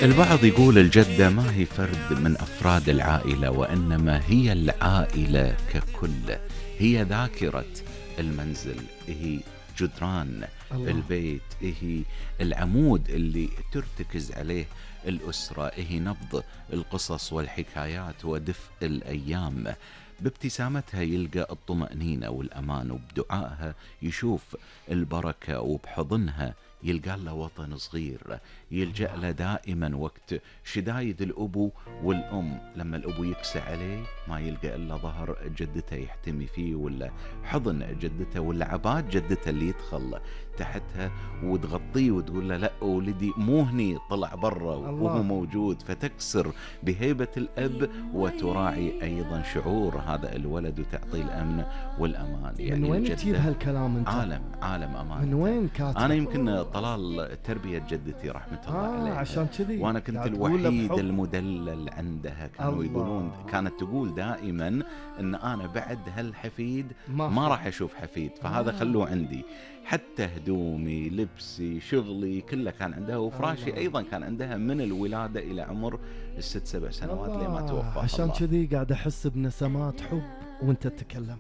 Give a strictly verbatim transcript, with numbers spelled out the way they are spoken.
البعض يقول الجدة ما هي فرد من أفراد العائلة، وإنما هي العائلة ككل. هي ذاكرة المنزل، هي جدران الله. البيت، هي العمود اللي ترتكز عليه الأسرة، هي نبض القصص والحكايات ودفء الأيام. بابتسامتها يلقى الطمأنينة والأمان، وبدعائها يشوف البركة، وبحضنها يلقى له وطن صغير يلجأ له دائما وقت شدايد الأبو والأم. لما الأبو يكسى عليه ما يلقى إلا ظهر جدته يحتمي فيه، ولا حضن جدته، ولا عباد جدته اللي يدخل تحتها وتغطيه وتقول له لا ولدي مو هني، طلع برا وهو موجود، فتكسر بهيبة الأب وتراعي أيضا شعور هذا الولد وتعطي الأمن والأمان. يعني من وين تجيب هالكلام انت؟ عالم عالم أمان. من وين كاتب؟ أنا يمكن طلال تربية جدتي رحمة الله آه عليها، عشان كذي وأنا كنت الوحيد المدلل عندها. كانوا الله. يقولون، كانت تقول دائما أن أنا بعد هالحفيد ما, ما راح أشوف حفيد، فهذا آه. خلوه عندي. حتى هدومي، لبسي، شغلي كله كان عندها، وفراشي الله. أيضا كان عندها من الولادة إلى عمر الست سبع سنوات لما توفى. عشان كذي قاعد أحس بنسمات حب وانت تتكلم.